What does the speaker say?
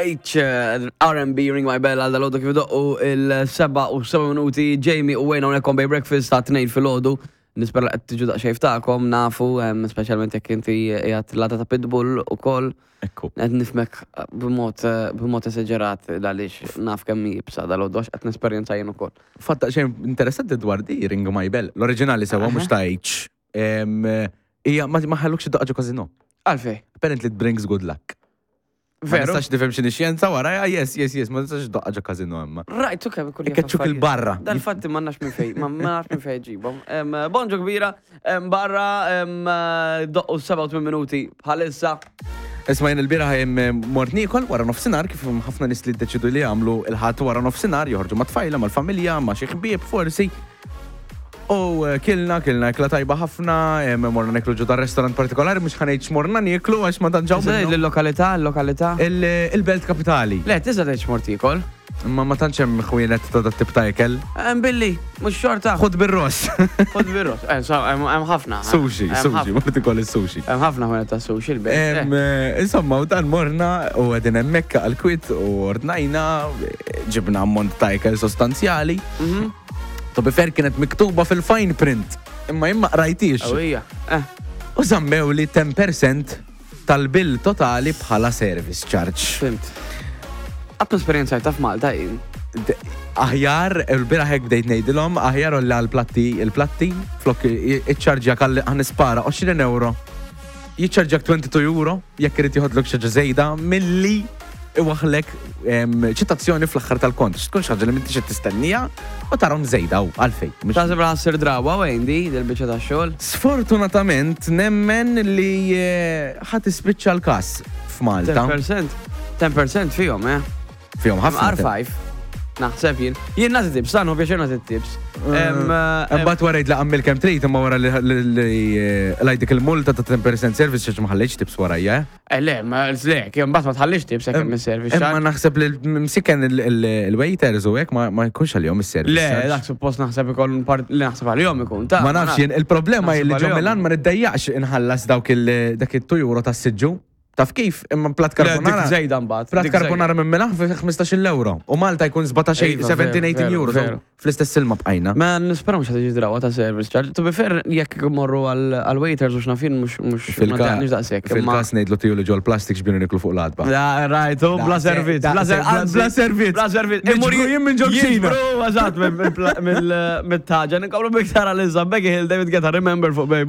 H, R&B, Ring My Bell għal dal-għodu kif doqqu il-7 u 7 minuti, Jamie u Wayne hawnhekk on Bay Breakfast ta' 2 filgħodu. Nispera li qed tiġu daqsxejn ftakom, nafu, speċjalment jekk inti qiegħed l-għada ta' Pitbull ukoll. Ekku. Qed nifhmek b'mod b'mod esaġerat għaliex naf kemm hi iebsa dal-għodu għax qed nesperjenza jien ukoll. Fatt daqsxejn interessanti dwar di Ring My Bell, l-oriġinali sewwa mhux ta' H. Hija ma ħallukx iddoqqa ġo casino. Għalfejn? Apparently it brings good luck. Ma Veru? nistax nifhem x'inhi xjenza warajha, yes, yes, yes, ma nistax iddoqqa ġo casino imma. Rajtu kemm ikun jaf Ikkeċċuk affarijiet. il-barra. Dal-fatti ma nafx minn fejn, ma nafx minn fejn ġibhom. Em, Bonġu kbira, em, barra em, doqqu 87 minuti bħalissa. Isma' jien il-bieraħ em, mort niekol wara nofsinhar kif hemm ħafna nies li ddeċidu li jagħmlu il-Ħadd wara nofsinhar joħorġu mat-tfajla, mal-familja, ma' xi ħbieb forsi. U eh, kilna, kilna ikla tajba ħafna, eh, morna niklu ġo ta' restaurant partikolari, mhux ħanejt x'morna nieklu għax ma tantx hawn Tista' minnhom. il-lokalità, il-lokalità. Il-belt kapitali. Le, tista' tgħid x'mort tiekol. Imma ma tantx hemm ħwienet ta' dat tip ta' ikel. Hemm billi, mhux xorta. Ħud bir-ross. Ħud bir-ross. Eh, so, hemm hemm ħafna. Sushi, Hemm sushi, ħafna. mort ikoll is-sushi. Hemm ħafna ħwienet ta' sushi l-belt. Em, eh, Insomma, u dan morna u għedin hemmhekk għal-kwit u ordnajna, eh, ġibna ammont ta' ikel sostanzjali. Mhm. To be fair kienet miktuba fil-fine print, imma jien ma qrajtix. Qawwija. Eh. U żammew li 10% tal-bill totali bħala service charge. Fimt. Qatt esperjenzajta f'Malta jien. Aħjar, il-bieraħ hekk bdejt ngħidilhom, aħjar olli għall-platti, il-platti, flok iċċarġjak għal ħanispara 20 euro. Jiċċarġjak 22 euro jekk irid joħodlok xi ħaġa żejda milli iwaħħlek ċitazzjoni fl-aħħar tal-kont. Tkun xi ħaġa li m'intix qed tistennija u tarhom żejda u għalfejn. Taħseb li ħassir drawa wejn di dil-biċċa tax-xogħol? Sfortunatament nemmen li eh, ħa tispiċċa l-każ f'Malta. 10%. 10% fihom, eh? Fihom ħafna. R5. Naħseb jien. Jien nagħti tips, tagħnu pjaċir nagħti tips. Eh, imbagħad wara jgħid għammil kemm trid imma wara li eh, dik il-multa ta' 10% service xi ma ħallejtx tips warajja. Eh? Eh le, ma le, kien mbagħad ma tħallix tips hekk hemm is-service. Imma naħseb li msiken il-waiters u hekk ma jkunx għalihom is-service. Le, dak suppost naħseb ikun part li naħseb għalihom ikun ta' Ma nafx jien, il-problema hi li ġo Milan ma niddejjaqx inħallas dawk il dak it-2 euro tas-siġġu. Taf kif? Imma plat carbonara. Dik żejda mbagħad. Plat carbonara minn Milan fi 15 euro. U Malta jkun 17, 17, 18 euro. Fl-istess ilma bqajna. Ma nispera mhux ħad drawa ta' service charge. To be fair, jekk morru għal waiters u x'nafin mhux mhux daqshekk. Fil-każ ngħidlu tiju li ġol plastik x'bienu niklu fuq l-għatba. Right, u bla servizz. Bla servizz. Bla servizz. Imur jien minn ġol kċina. Eżatt, mill-taġa. Nkomplu biktar għal-izza. Becky Hill, David Guetta, Remember fuq Baby.